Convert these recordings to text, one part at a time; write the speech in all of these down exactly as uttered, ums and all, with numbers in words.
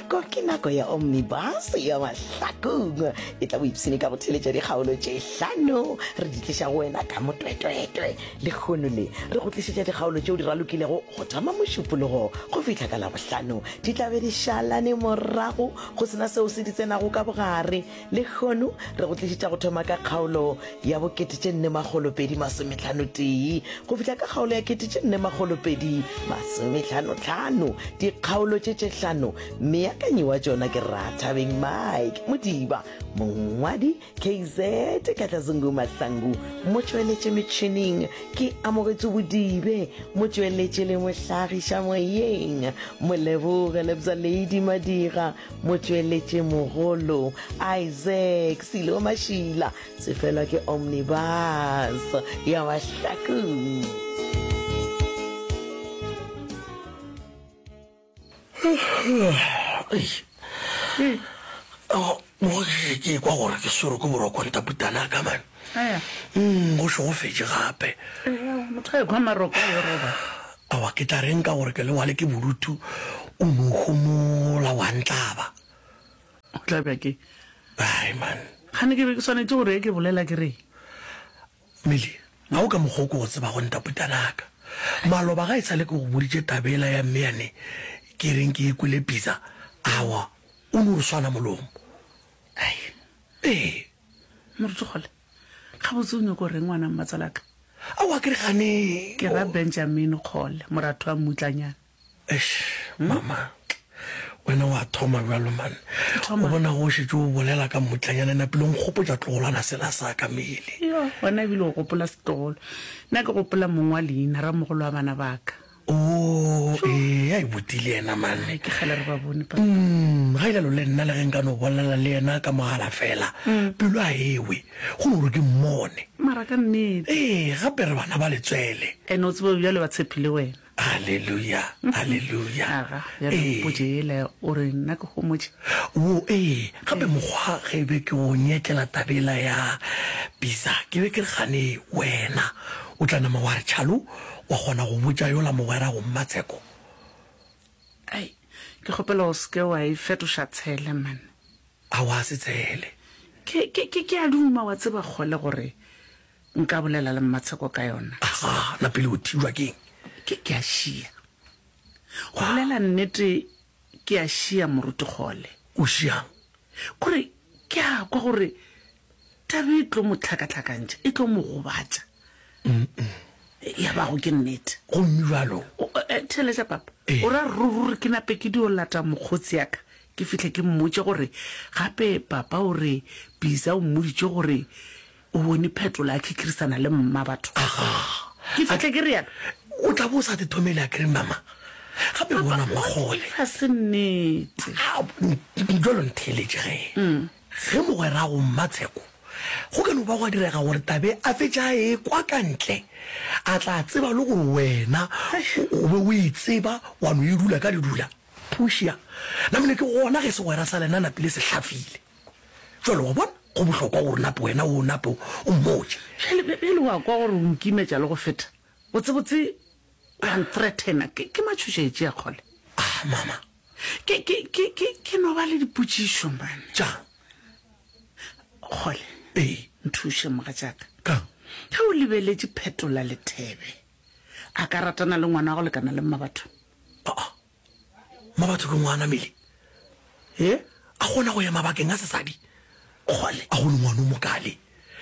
Nako ke nako ya Omnibus ya Mahlakong. E tla boipshine ka go theletša dikgaolo tše hlano re di tliša go wena ka motwetwetwe. Lehono le re go tlišetša dikgaolo tšeo di ralokilego go thoma Mošupologo go fihla ka Labohlano. Di tla be di šalane morago go sena seo se di tsenago ka bogare. Lehono re go tlišetša go thoma ka kgaolo ya bokete tše nne makgolo pedi masometlhano tee go fihla ka kgaolo ya kete tše nne makgolo pedi masometlhano tlhano. Dikgaolo tše tše hlano meakanyi wa tšona ke Rathabeng Mike Modiba, mongwadi K Z Katlazungu Mahlangu, motšweletše metšhineng ke Amogetšwe Bodibe, motšweletše le mohlagiša moyeng Moleboge Lebza Lady Madira, motšweletše mogolo Isaac Silo Mašila. Sefelwa ke Omnibus ya Mahlakong. Mo ke kwa gore ke swerwe ke boroko ntaputana ka man. Mm, go šegofetše gape. Motho a ekwa maroko a yo roba. Awa ke tla reng ka gore ke lewale ke bodutu o no homola wa ntlaba. O tla bja ke. Ai man. Gane ke be ke swanetše gore ke bolela ke re. Mili, ga o ka mokgwa o ke go tsebago ntaputanaka. Maloba ga e sa le ke go boditše taba yela ya mme yane ke reng ke e kwele pizza, awa o no re swana molomo. Ai. Ee. Moruti Kgole, gabotse o nyoko reng ngwana mmatsalaka? Aowa ke re gane. Ke ra Benjamin Kgole, moratho wa mmutlanyana. Eish, mama, wena wa thoma bjalo man. O bona go šetše o bolela ka mmutlanyana napile o nkgopotša tlogolwana sela sa ka mele. Yo, wena ebile o gopola setlogolo. Nna ke gopola mong wa leina, ramogolo wa bana ba ka. Oo, ee, a e botile yena man. Ai, ke kgale re ba bone, papa. Mm, ga ilalo le nna le ge nka no bolela le yena ka mogala fela, pelo a ewe, go no gore ke mmone. Mara ka nnete. Ee, gape re bana ba letswele. Ene o tsebe bjale ba tshepile wena. Haleluya, haleluya. Aga, bjale Ee. mpotše yela o re nna ke homotše. Wo, ee, gape mokgwa ge be ke o nyetlela taba yela ya bisa, ke be ke re gane wena o tla nama wa re tšhalo, wa kgona go botša yola mogwera go Mmatsheko. Ai, ke kgopela o se ke wa e fetoša tshele, man. Aowa, se tshele. Ke, ke, ke, ke a duma, wa tseba, kgole gore nka bolela le Mmatsheko ka yona. Aga, na pele o thibjwa ke'ng? Ke, ke a šia. Go bolela nnete, ke a šia, Moruti Kgole. O šia'ng? Kore ke a kwa gore taba e tlo mo hlakahlakantšha, e tlo mo gobatša. Ya bago ke nnete. Gomme bjalo. Theeletša, papa. Ee. O ra ruri ke nape ke dio lata mokgotsi ya ka, ke fihle ke mmotše gore gape papa o re Bisa o mmoditše gore o bone Phetola a khikhirisana le mma batho. Aga. Ke fihle ke realo. O tla bo o sa te thomele akere, mama? Gape Papa, bona what Mmakgole. if a se nnete? A, bjalo ntheeletše ge. Ge mogwerago Mmatsheko go ka no ba gwa direga gore tabe a fetše a ekwa ka ntle, a tla tseba le gore wena o be o e tseba wa no e dula ka ledula. Pušia, namile ke gona ge segwera sa lena napile se hlafile. Bjale wa bona, go bohlokwa gore nape wena o nape o mmotše. Bjale, bjale wa kwa gore o nkimetša le go feta. Botsebotse wa nthreatena. Ke, ke matšhošetši a kgole. Ah, mama. Ke, ke, ke, ke, ke no ba le dipotšišo, man. Tša. Kgole. Ee. Nthuše, mogatšaka. Kang? Ge o lebeletše Phetola Lethebe, a ka ratana le ngwana wa go lekana le Mmabatho? Aa, Mmabatho ke ngwana, Meli. He? A kgona go ya mabakeng a sesadi? Kgole. A go le ngwana o mokale.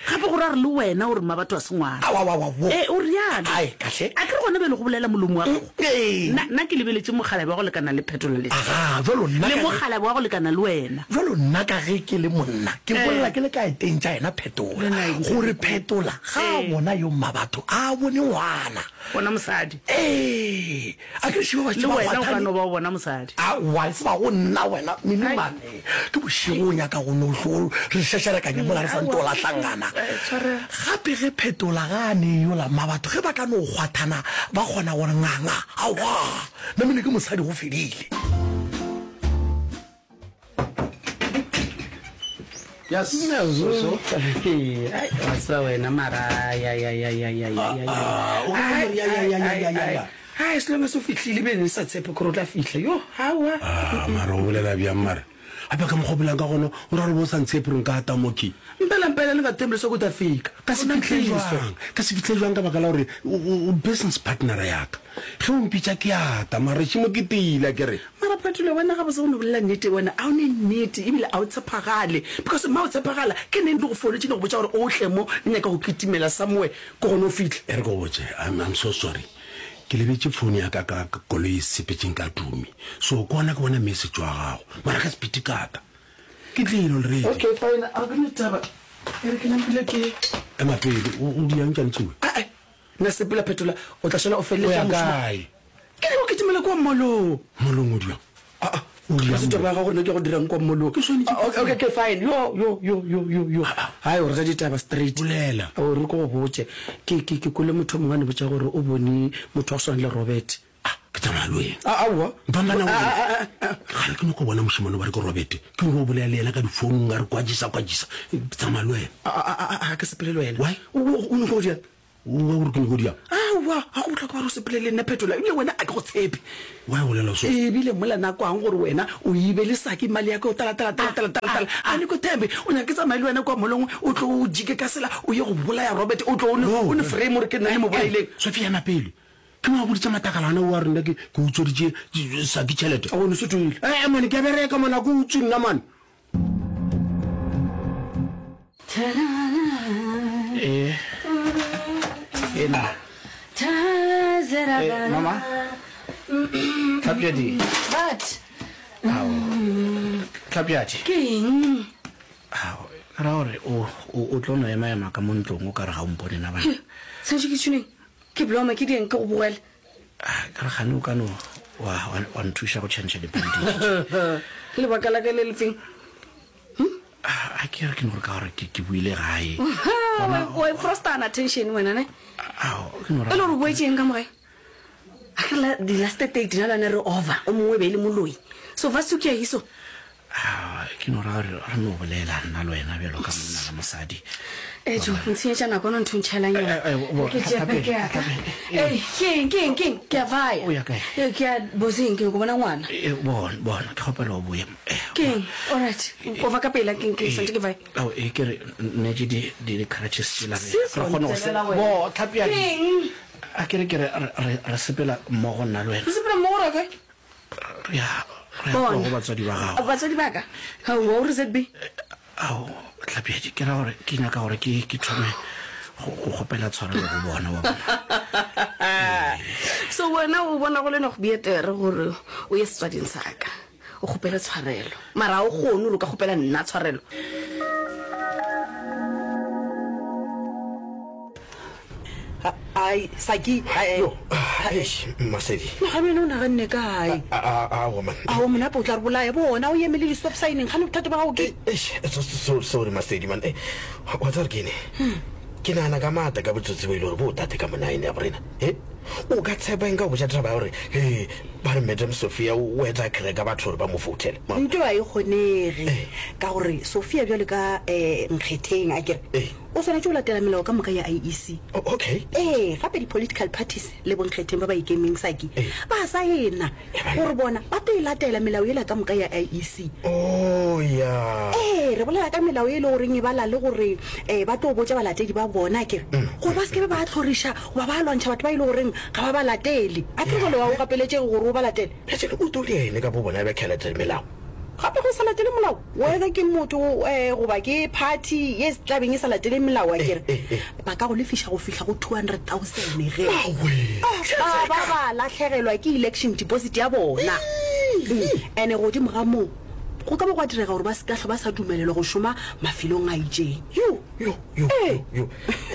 Gape gore a re le wena o re Mmabatho a se ngwana. Awa, awa, awa, wo. Ee, o realo. Ai, kahle. A ke re gona bjale go bolela molomo wa gago? Ee. Nna, nna ke lebeletše mokgalabje wa go lekana le Phetola Lethebe. Aga, bjalo nna Le ka ge. mokgalabje wa go lekana le wena. Bjalo nna ka ge ke le monna, ke bolela ke le ka eteng tša yena Phetola, Le nna ke gore Phetola ga a Ee. bona yo Mmabatho, a bone ngwana. Bona mosadi. Ee, a ke re šeba ba Le šetše ba wena o ka kgwathane. no ba o bona mosadi. Aowa, e se ba go nna wena, Minimane. Ke bošego o nyaka go no hlo re šešerekanya mola re sa nto lahlangana. Gape ge Phetola ga a ne yola Mmabatho, ge ba ka no kgwathana ba kgona gore nganga, aowa, namile ke mosadi go fedile. Yes. So, so. Ai, wa tseba wena mara ya ya ya ya ya ya ya. Ah, o ka re ya ya ya ya ya ya. Hai, as long as o fihlile ebile ne sa tshepe gore o tla fihla. Yo, aowa. Ah, mara o bolela bjang mara? Gape ka mokgwa o bolelang ka gona, o ra gore bo o sa ntshepe gore nka ata mo ke? Mpela mpela le nga thembi leswaku u ta fika. Ka se fihle jwang? Ka se fihle jwang ka baka la gore o, o, o business partner ya ka. Ge o mpitša ke ata, mara šemo ke tiile akere. Mara Phetolo, wena gabotse go no bolela nnete, wena a o ne nnete ebile a o tshepagale. Because ma o tshepagala, ke neng ke go founetše ke go botša gore o tle mo, ke nyaka go kitimela somewhere, ke gona o fihle. E re ke go botše, I'm, I'm so sorry. Ke lebetše phone ya ka ka koloi e sepetšeng ka Tumi. So ke gona ke bona message wa gago. Mara ka sepiti ka ta. Ke tlile already. Okay fine, a ke ne taba. E re ke nampile ke. Ema pele, o o di yang tšane tšewe? Ae, nna sepela Phetola, o tla šala o O feleletša ya mošomo. kae? Ke nyaka go kitimela kua mall-ong. Mall-ong o di yang? Aa, O di ga yang se taba mo? ya gago gore nna ke ya go dirang kua mall-ong. Ke swanetše Ah, ke okay, okay, tsebe. okay, fine. Yo, yo, yo, yo, yo, yo. Hai, o re ja ditaba straight. Bolela. O re ke go botše. Ke, ke, ke kwele motho o mongwe a ne botša gore o bone motho wa go swana le Robert. Ah, ke tsamaya le wena. Ah, aowa. Mpambana Ah, wena. ah, ah, ah, ah. Kgale ke nyaka go bona mošemane ba re ke Robert. Ke nyaka go bolela le yena ka difounung a re kwajisa, kwajisa. Ke tsamaya le wena. Ah, ah, ah, ah, ah, ke sepele le wena. Why? O, o, o nyaka go dirang? O wa gore ke nyaka go dirang? Aowa, ga go bohlokwa gore o sepele le nna Phetola, ebile wena a ke go tshepe. Why o bolela so? Ebile mola nakwang gore wena o ibe le saki mali ya ka o tala tala tala tala tala tala. A ne ko thembe, o nyaka ke tsamaye le wena kwa molong, o tlo o jike ka sela, o ye go bolaya Robert, o tlo o ne o ne frame gore ke nna le mo bolaileng. Sophia ema pele. Ke mo a boditše matakalana o a re nna ke ke utsweditše saki tšhelete. A o ne se toile. Eh, mane ke a bereka mane, a ke utswe nna mane. Eh. Ena. Eh, mama. Tlhapjadi. But. Ao. Tlhapjadi. Ke eng? Ao, ke ra gore o o o tlo no ema ema ka mo ntlong o ka re ga o mpone na bana. Santse ke tshuneng. Ke bloma ke dieng ke go bogela. Ah, ka re gane o ka no wa wa wa nthuša go change di-bandage. Lebaka la ka le lefeng? Ah, a ke re ke no gore ka gore ke ke buile gae. Wa frostana attention wena ne? Ao, ke no E le gore o boetseng ka mo gae? A ke la di last date na lana re over. O mongwe be e le moloi. So va sukia hiso. Ah, ke no ra gore re no bolela nna le wena bjalo ka monna le mosadi. Eh jo, ntshenyetša nako no ntho ntšhelang yona. Eh, eh, bo- Ke tšea Tlhapedi, beke ya ka. Tlhapedi. Eh, ke eng, ke eng, ke eng? Ke a vaya. O ya kae? Eh, ke ya boseng, ke go bona ngwana. Eh, bona, bona, ke kgopela o boye. Eh, Ke eng? All right. O va ka pela ke ke santse ke vaye. Ao, e ke re nne ke di di di crutches tsela re Sis, re kgone go se wa ntelela bo wena. Tlhapjadi. Ke eng? A ke re ke re re re- re sepela mmogo nna le wena. Re sepela mmogo ra kae? Re ya re ya Bona. kwa go batswadi ba gago. Batswadi ba ka? Hao, wa o re Z B? Ao, Tlhapjadi, ke ra gore ke nyaka gore ke ke thome go go kgopela tshwarelo go bona wa bona. So wena o bona go le no go betere gore o ye setswading sa ka. O kgopele tshwarelo. Mara ha o kgone gore o ka kgopela nna tshwarelo. Ai, Saki, ai. Yo, eish, Masedi. Gabe wena o naganne kae? A a a man. Ao monape o tla re bolaya bona o emele di-stop signing gane bothata ba gago ke Eish, so so sorry Masedi man. Eh, wa tsare ke ne. Ke nahana ka matla ka botsotsi bo ile gore bo tate ka monaene ya borena. Eh? O ka tshepa eng ka go botša taba ya gore he ba re Madam Sophia o etsa crack batho gore ba mo foutele. nto a e kgonege ka gore Sophia bjalo ka um nkgetheng a kere Eh. o swanetše go latela melao ka moka ya I E C. Okay. Ee, gape di-political parties le bonkgetheng ba ba ikemeng Saki Eh. ba saena gore bona ba tlo e latela melao ela ka moka ya I E C. Oh ya. Ee, re bolela ka melao e le goreng e bala le gore um ba tlo botša balatedi ba bona kere gore ba sekebe ba tlhoriša goba ba lwantšha batho ba e le goreng ga ba ba latele. A ke re jale wa o gapeletšege gore o ba latele. Bjale o tlo le ene ka bo bona ba kgelatela melao. Gape go sa latele molao, whether ke motho um goba ke party ye tlabeng e sa latele melao a kere eh, eh. ba ka go lefiša go fihla go two hundred thousand ge. Awe. Ah, ba ba latlhegelwa ke election deposit ya bona. Ene godimo ga moo go ka ba gwa direga gore ba se ka hlwa ba sa dumelelwa go šoma mafelong a itšeng. Yo, yo, yo, Ee. yo.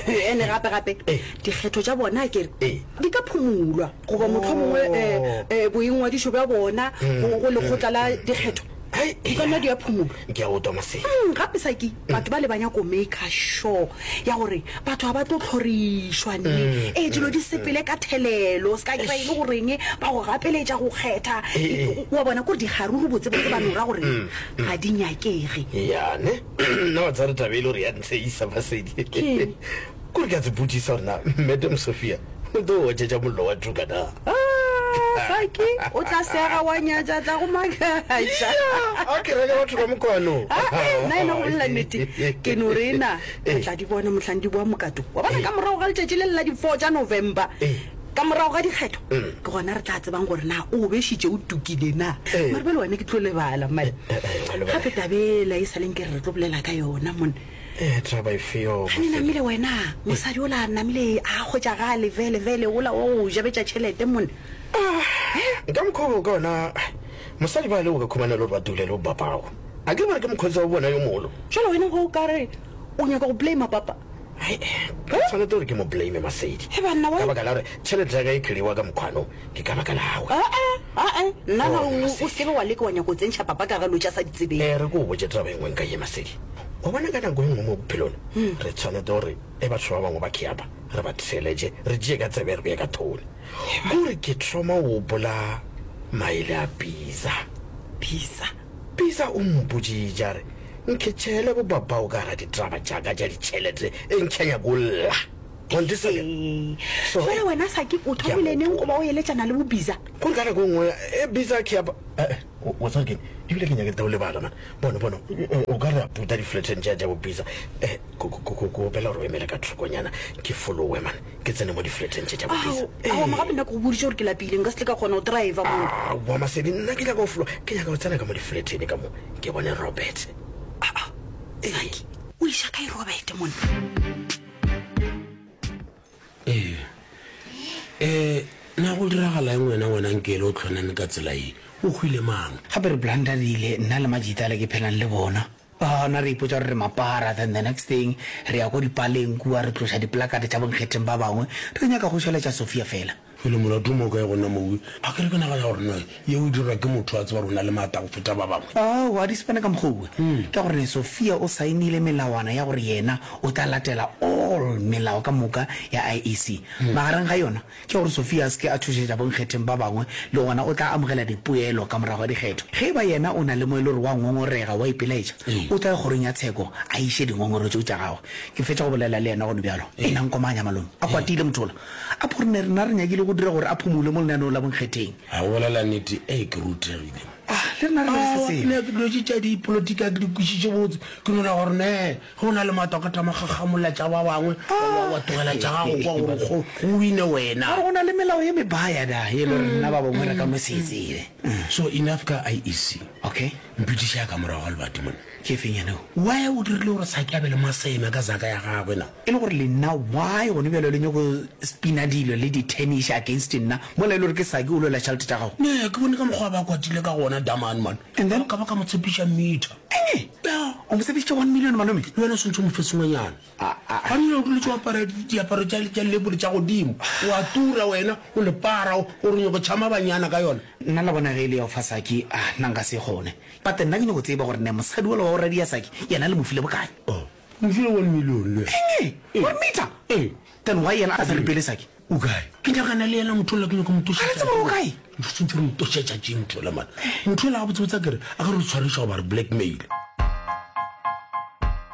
Ene gape gape Eh. dikgetho tša bona kere Eh. di ka phumulwa goba mohlomongwe Oh. eh, eh, boingwadišo bja bona go go lekgotla la dikgetho Ai, di ka nna di a phumulwa. Ke a utlwa Masedi. Mm, gape Saki batho ba le ba nyako maker sure ya gore batho ga ba tlo tlhorišwa nne. Ee, dilo di sepele ka thelelo, se ka kry-a e le goreng ba go gapeletša go kgetha. Eh, eh. Wa bona kore dikgaruru botsebotse ba no ra gore ga di nyakege. Ya ne. Nna wa tsare taba e le gore ya ntsheisa Masedi. Keng? Kore ke a se botsisa gore na Madam Sophia o tlo otšetša mollo wa tuka na. Ah, Saki o tla sega wa nyatša tla go makatša. A ke reke batho ka mokwano. Nna ena go bolela nnete ke no re na re tla di bona mohlang di boa mokato. Wa bona ka morago ga letšatši le le la di-four tša November ka morago ga dikgetho ke gona re tla tsebang gore na o bešitše o tukile na. Mare bjale wena ke tlo lebala mane. Gape tabela e sa leng ke re re tlo bolela ka yona mone. Eh, taba efeo Gane namile wena mosadi ola namile a kgotšagale vele vele ola wa go jabetša tšhelete mone. Nka mokgwa ka ona mosadi ba le o ka khumana le gore ba dule le bo bapago. A ke bare ke mokgotsi wa bona yo mogolo. Jwale wena go ka re o nyaka go blame papa. Ai, ke tshwanetse gore ke mo blame Masedi. He banna wa Ka baka la gore tšhelete ya ka e clear ka mokgwano ke ka baka la gagwe. Ae, ae, nna na o o se ke wa leka wa nyaka go tsentšha papa ka ga lo tša sa di tsebeng. Eh, re ko o botse taba e nngwe nka ye Masedi. Wa bona ka nako e nngwe mo bophelong re tshwanetse gore e batho ba bangwe ba kheapa re ba theletše re tšee ka tsebe re beye ka thone. Kore ke thoma o bola maele a Bisa. Bisa. Bisa o mpoditše a re nkhetšhele bo babao ka gara ditaba tšaka tša ditšhelete e nkhe nyako lla. So, Jwale wena Saki o thomile neng go ba o eletšana le bo Bisa? Kore ka nako e nngwe e Bisa kheapa wa tseba keng ebile ke nyake tao lebala man. Bona bona o ka re a puta di-flateng tša tša bo Bisa. Eh, ko opela gore o emele ka thokonyana ke followe man ke tsene mo di-flateng tše tša bo Bisa. Ao, gape nna ke go boditše gore ke lapile nka se tle ka kgona go driver mo. Aowa Masedi nna ke nyaka go follow ke nyaka go tsena ka mo di-flateng ka mo ke bone Robert. Saki o iša kae Robert monna? Ee. Eh, na go diragala eng wena wena nkele o tlhonane ka tsela e? O hwile mang? Gape re blandarile nna le majita le ke phelang le bona. Gona re ipotsa gore re mapara, then the next thing re ya ko dipaleng kua re tloša diplakate tša bonkgetheng ba bangwe re nyaka go šaletša Sophia fela. Pele molato mo kae gona mowe? A ke re ke nagana gore no yeo e dirwa ke motho a tseba gore o na le maatla go feta ba bangwe. Ao, a di sepane ka mokgwa owe. Ka gore Sophia o saenile melawana ya gore yena o tla latela all melao ka moka ya I E C. Magareng ga yona ke gore Sophia a se ke a tšhošetša bonkgetheng ba bangwe le gona o tla amogela dipoelo ka morago ga dikgetho. Ge e ba yena o na le mo e le gore wa ngongorega wa ipelaetša, o tla ya kgorong ya tsheko a iše dingongoro tšeo tša gagwe. Ke fetša go bolela le yena gone bjalo. E na nkomanya malome. A kwatile motho ola. A pho re ne rena re nyakile go dira gore a phumule mo lenaneong la bonkgetheng. A go bolela nnete, ee ke rutegile. Ah, le rena re sa tsebe. Nna ke dilo tše tša dipolotiki a ke di kwešiše botse. Ke nona gore ne ge o na le maatla o ka tama gagamolla tša ba bangwe wa wa tlogela tša gago kwa gore go go wine wena. Gore go na le melao ye mebaya da e le gore rena ba bangwe re ka no se e tsebe. So enough ka I E C. Okay. Mpitiša ka morago ga lebati monna. Ke efeng yena eo? Why o dirile gore Saki a be le maseme ka zaka ya gagwe na? E le gore le nna why gone bjalo le nyako spina dilo le di-tennis against nna mola e le gore ke Saki o lwela tšhelete tša gago? Ne ke bone ka mokgwa ba kwatile ka gona Damane man. And then ka ba ka mo tshepiša meter. Eng? O mo tshepišitše one million malome? Le wena o swantse o mo fe sengwenyana. Ga nne o duletse o apara diaparo tša tša lebole tša godimo. O a tura wena o lepara o re nyako tšhama banyana ka yona. Nna la bona ge e le ya go fa Saki, ah nna nka se kgone. But nna ke nyako tseba gore ne mosadi ola wa go radia Saki yena le mo file bokae? Oh, mo file one million le. Eng? One meter? Ee. Then why yena a sa ripele Saki? O kae? Ke nyakana le yena motho ola ke nyako mo tošetša. Ga re tsebe gore o kae? Ntho re mo tošetša tše motho ola man. Motho ola gabotsebotse a kere a ka re tshwariša goba re blackmail.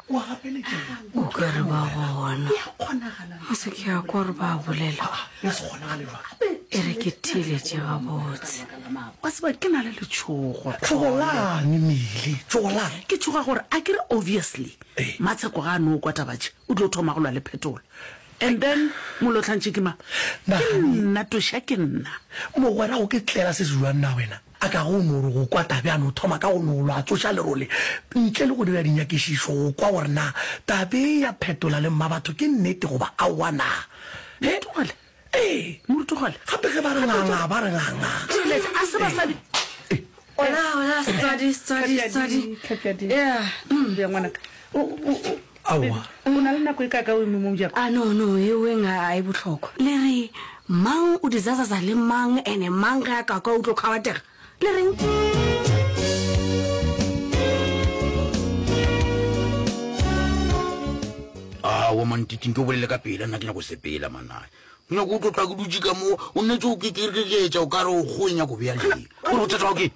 O ka re ba gona. O se ke ya kwa gore ba bolela. E re ke theeletše gabotse. Wa tseba ke na le letšhogo. Tšhogolang Mile, tšhogolang. Ke tšhoga gore a ke re obviously Matsheko ga a no kwa taba tše o tlo thoma go lwa le Phetola. And then molotlhantši ke mang? Ke nna toša ke nna. Mogwera go ke tlela se se jwang na wena? A ka go no re go kwa tabe a no thoma ka go no lwa a tsoša lerole ntle le go dira dinyakišišo go kwa gore na tabe ya Phetola le Mmabatho ke nnete goba aowa na. He? Morutugale. Ee. Morutugale. Gape ge ba re nganga ba re nganga. Tšhelete a se basadi. Hola, hola, setswadi, setswadi, setswadi. Yeah. Ya ngwanaka. O o o Aowa. O na le nako e ka ka o eme mo mojako? Ah no no, e weng a e bohlokwa. Le re mang o dizazaza le mang ene mang ge a ka kwa o tlo kgabatega. Le reng? Aowa mantiting ke o bolele ka pela nna ke nyako sepela manae. Ke nyako o tlo tla ke dutše ka mo o nnetse o kekereketša o ka re o kgoe nyako bea lee. Gore bothata bao ke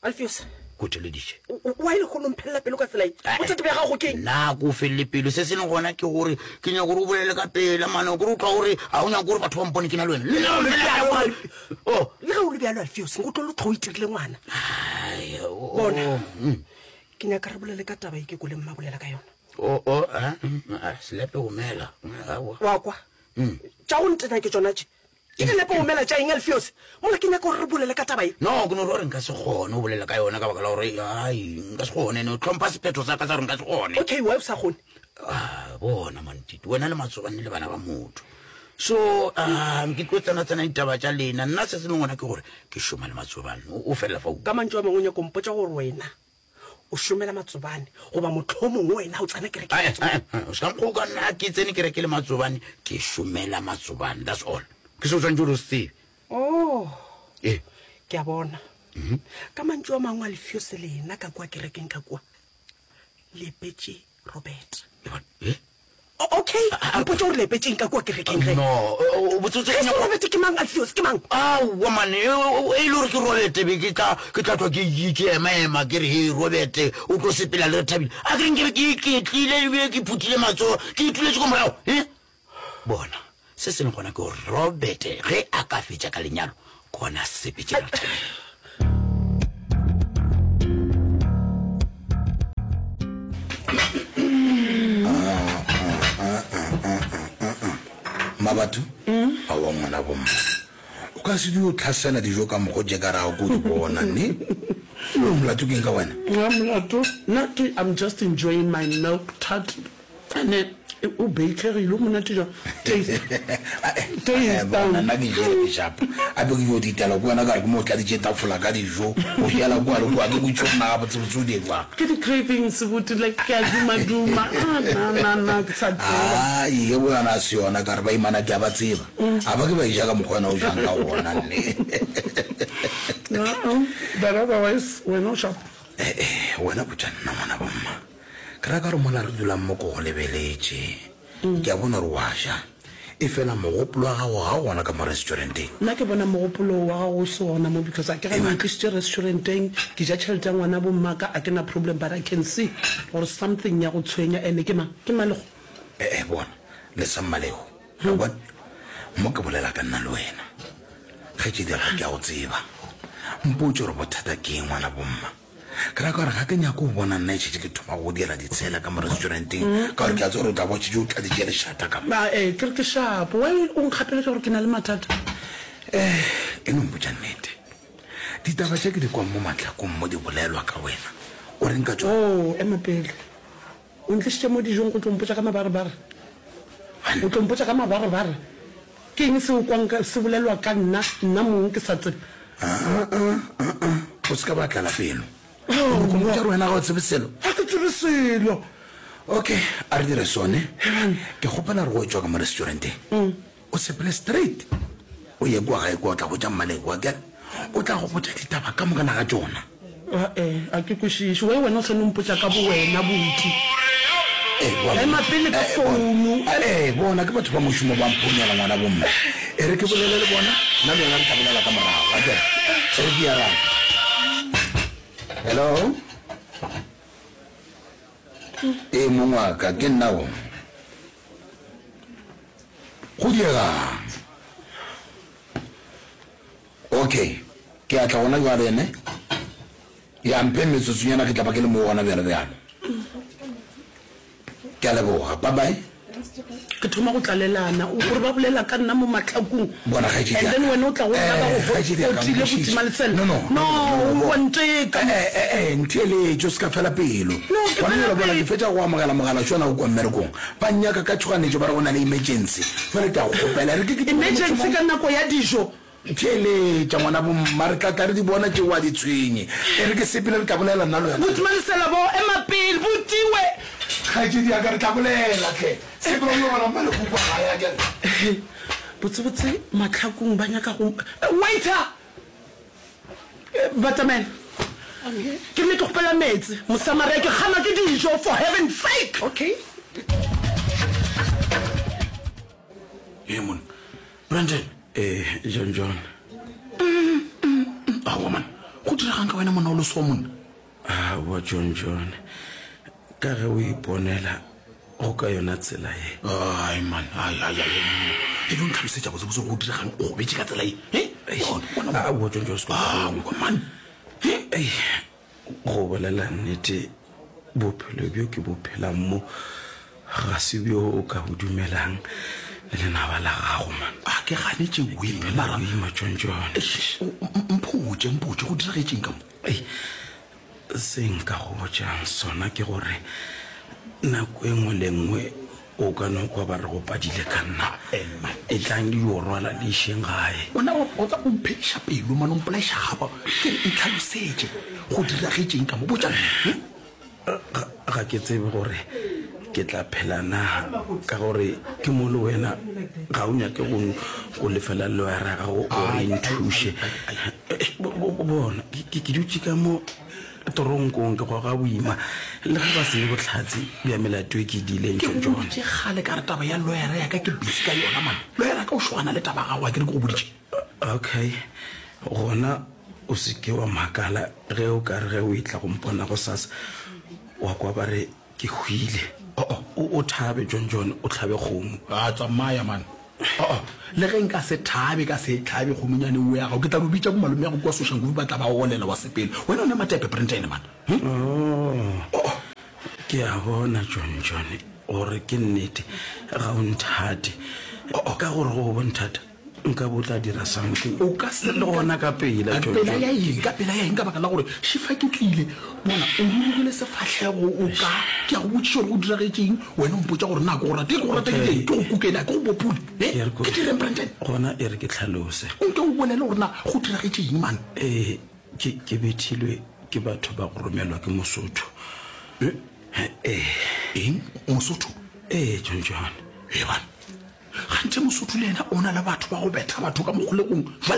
Alfios. Ko theleditše. Why lehono o mphelela pelo ka tsela ye? Bothata bja gago ke eng? Nna ko felele pelo. Se se leng gona ke gore ke nyaka gore o bolele ka pela mane, kore o tloga gore ga o nyake gore batho ba mpone ke na le wena. Le nna Le mphelela bjalo, Oh. Le ge o le bjalo Alfios, nko tlo le tlo o itirile ngwana. Ai, o- Bona. mm. Ke nyaka re bolele ka taba e ke kweleng mma bolela ka yona. O, o, ah, mm, ah, selepe gomela. Aowa. Wa kwa? Mm. Tša go ntena ke tšona tše. Ke dinepe go mela tša eng, Alfios? Mola ke nyaka gore re bolele ka taba ye. No, ke no re gore nka se kgone go bolela ka yona ka baka la gore, ai, nka se kgone. No hlompha sephetho sa ka sa gore nka se kgone. Okay, why o sa kgone? Ah, bona Mantiti, wena le Matsobane le bana ba motho. So, ah, ke tlo tsena-tsena ditaba tša lena. Nna se se leng gona ke gore ke šoma le Matsobane. O, o felela fa o. Ka mantšu a mangwe o nyaka go mpotša gore wena o šomela Matsobane, goba mohlomongwe wena o tsena kereke ya Ae, Matsobane? ae, ae, o se ka nkgoka nna ke tsene kereke le Matsobane, ke šomela Matsobane, that's all. Ke se o tshwanetse gore o se tsebe. Oh, Ee. ke a bona. Mhm. Ka mantšu a mangwe a Alfios lena ka kua kerekeng ka kua, le epetše Robert. Eh? O- okay, mpotše gore le epetšeng ka kua kerekeng ge. No, o- o- botsotsi Ge ke se nyako- Robert ke mang, Alfios ke mang? Aowa man, e e- e le gore ke Robert be ke tla ke tla tlwa ke ke ke ema ema ke re he Robert o tlo sepela le Rethabile. A ke re nke be ke iketlile ebile ke phuthile matsogo ke ituletse ko morago. Eh? Bona, se se leng gona ke gore Robert ge a ka fetša ka lenyalo gona sepetše le Rethabile. Mmabatho, aowa ngwana bomma, o ka se dio tlhasela dijo ka mokgo tše ka rago ko di bona, ne? Ebile molato ke eng ka wena? Nna molato, nna ke I'm just enjoying my milk tart. Ene o bakegile, o monate jwang? Taste. Taste. Bona, nna ke jele ke shapa. Gape ke yo ditela ko wena ka re ke mo tladitše tafola ka dijo, o jela kua le kua, ke botše gore na gabotsebotse o di jwang. Ke di-cravings buti, like ke a duma-duma. Ah, na, na, na, ke sa tseba. Ai, ye bo yona a se yona, ka re baimana ke a ba tseba. A ba ke ba e ja ka mokgwa wena o jang ka gona, nne. Uh-uh, but otherwise, wena o sharp. Eh, eh, wena botša nna ngwana bomma. Ke ra ka gore mola re dulang mo ko go lebeletše, ke a bona gore wa ja, efela mogopolo wa gago ga o gona ka mo restauranteng. Nna ke bona mogopolo wa gago o se gona mo because a ke gane o ntlišitše restauranteng, ke ja tšhelete ya ngwana bo mmaka, a ke na problem but I can see gore something ya go tshwenya and ke mang? Ke Mmalego. Eh, eh, bona, lesa Mmalego, wa bona, mo ke bolela ka nna le wena, kgaetšedi ya ka ke a go tseba. Mpotše gore bothata ke eng ngwana bomma. Ke ra ka gore ga ke nyake go bona nna e šetše ke thoma go dira ditshela ka mo restauranteng, Mm. ka gore ke a tseba gore o tla bo o šetše o tladitše lešata ka mo. Ba, eh, ke re ke shapo. Why o nkgapeletša gore ke na le mathata? Eh, e no mpotša nnete. Ditaba tše ke di kwang mo mahlakong mo di bolelwa ka wena, o reng ka tšona? Oh, ema pele. O ntlišitše mo dijong go tlo mpotša ka mabarebare? O tlo mpotša ka mabarebare? Ke eng se o kwang ka, se bolelwa ka nna, nna mong ke sa tsebe? Ah, ah, ah, ah. O se ka ba tlala pelo. O mpotša gore wena ga o tsebe selo? Ga ke tsebe selo. Okay, a re dire sone. Ke kgopela gore go tšwa ka mo restauranteng, o sepele straight o ye kua gae kua, o tla hwetša Mmaleko, akere o tla go botša ditaba ka moka naga tšona. Ae, a ke kwešiše. Why wena o sa no mpotša ka bowena, buti? Eh, bona. Ema pele ka Eh, bona. founu. Eh, bona ke batho ba mošomo ba mphonela ngwana bomme. E re ke bolele le bona, nna le wena re tla bolela ka morago, akere? E re ke ya rang. Hello? Ee, mong wa ka, ke nna o. Go diegang? Okay, ke a tla gona jwale ne. Ya mphe metsotsonyana ke tla ba ke le mo gona bjalo bjalo. Ke a leboga. Bye bye. Ke thoma go tlalelana. O re ba bolela ka nna mo mahlakong. Bona, kgaetšedi And ya then ka. wena o tla go nna ba go Eh, kgaetšedi ya ka, hotile nkwešiše. botima le tsela. No, no, No, no, no, wa nteka. Eh, eh, eh, ntheeletše, o se ka fela pelo. No, ke Gona fela jwale bona, pelo. ke fetša go amogela mogala tšona go kwa mmerekong. Ba nnyaka ka tšhoganetšo, ba re go na le emergency. Jwale ke a go kgopela, re ke ke Emergency ka nako ya dijo. Theeletša ngwana bomma, re tla tla re di bona tšeo a di tshwenye. E re ke sepele, re tla bolela nna le wena. Botima lesela bo, ema pele, botiwe. Kgaetšedi ya ka, re tla bolela hle. Sepela o yo bona Mmalekoko kwa gae, akere. Botsebotse mahlakong ba nyaka go. Waiter! Batamela. Ke rile ke kgopela meetse, Mosamaria, ke kganwa ke dijo, for heaven's sake! Okay. Ee, monna. Brandon. Ee, John John. Aowa, man. Go diregang ka wena monna o le so monna? Aowa John John, ka ge o iponela go ka yona tsela ye. Ai man, ai ai ai. E no ntlhalosetša botsebotse gore go diregang o gobetše ka tsela ye. Eh? Aowa John John, se Aowa man. Ei, go bolela nnete, bophelo bjo ke bo phelang mo ga se bjo o ka bo dumelang le lenaba la gago man. A ke ganetše wena mara. Boima John John. Mpotše, mpotše go diragetšeng ka mo. Ei, se nka go botšang sona ke gore nako e nngwe le nngwe o ka no kwa ba re go padile ka nna. E tlang le yo rwala le išeng gae. Wena o tsa o mphediša pelo mane o mpolaiša gapa. Ke re ntlhalosetše go diragetšeng ka mo. Botša nna. Ga, ga ke tsebe gore ke tla phela na, ka gore ke mo le wena ga o nyake go, go lefela loyara ya gago gore e nthuše. Bona, ke, ke dutše ka mo toronkong ke goga boima, le ge ba se ne bohlatse bja melato e ke e diileng. Ke go John. boditše kgale ka re taba ya loyara ya ka ke busy ka yona man. Loyara ya ka o šogana le taba ya gago, a ke re ke go boditše? Okay, gona o se ke wa makala ge o ka re ge o etla go mpona gosasa wa kwa ba re ke hwile. Oh-oh. O, o thabe, John John, o hlabe kgomo. A tsamaya man. Oh-oh. Le ge nka se thabe, ka se e hlabe kgomonyane eo ya gago, ke tla no bitša bomalome ya go kua Soshanguve ba tla ba olela wa sepela. Wena o ne matepe, Brentane man. Hm? Oh. Ke a bona, John John, gore ke nnete ga o nthate. Oh-oh. Ka gore go bo nthata, nka bo tla dira something. O ka se Le gona ka pela, Ka John pela John. ya eng? Ka pela ya eng? Ka baka la gore šifa ke tlile, bona o rurugile sefahlego, o ka, ke a go botšiša gore go diragetše eng, wena o mpotša gore na ke go rate. Ke go rata ke Okay. direng? Ke go kukele, a ke go bopule? Eh? Ke re ko- Ke direng, Brandon? Gona e re ke hlalose. O nke o bolele gore na go diragetše eng, man. Ee, ke, ke bethilwe ke batho ba go romelwa ke Mosotho. Eh? Ee. Eng? Mosotho? Ee, John John. Ee, man. Ganthe Mosotho le yena o na le batho ba go betha batho ka mo kgolegong. Jwale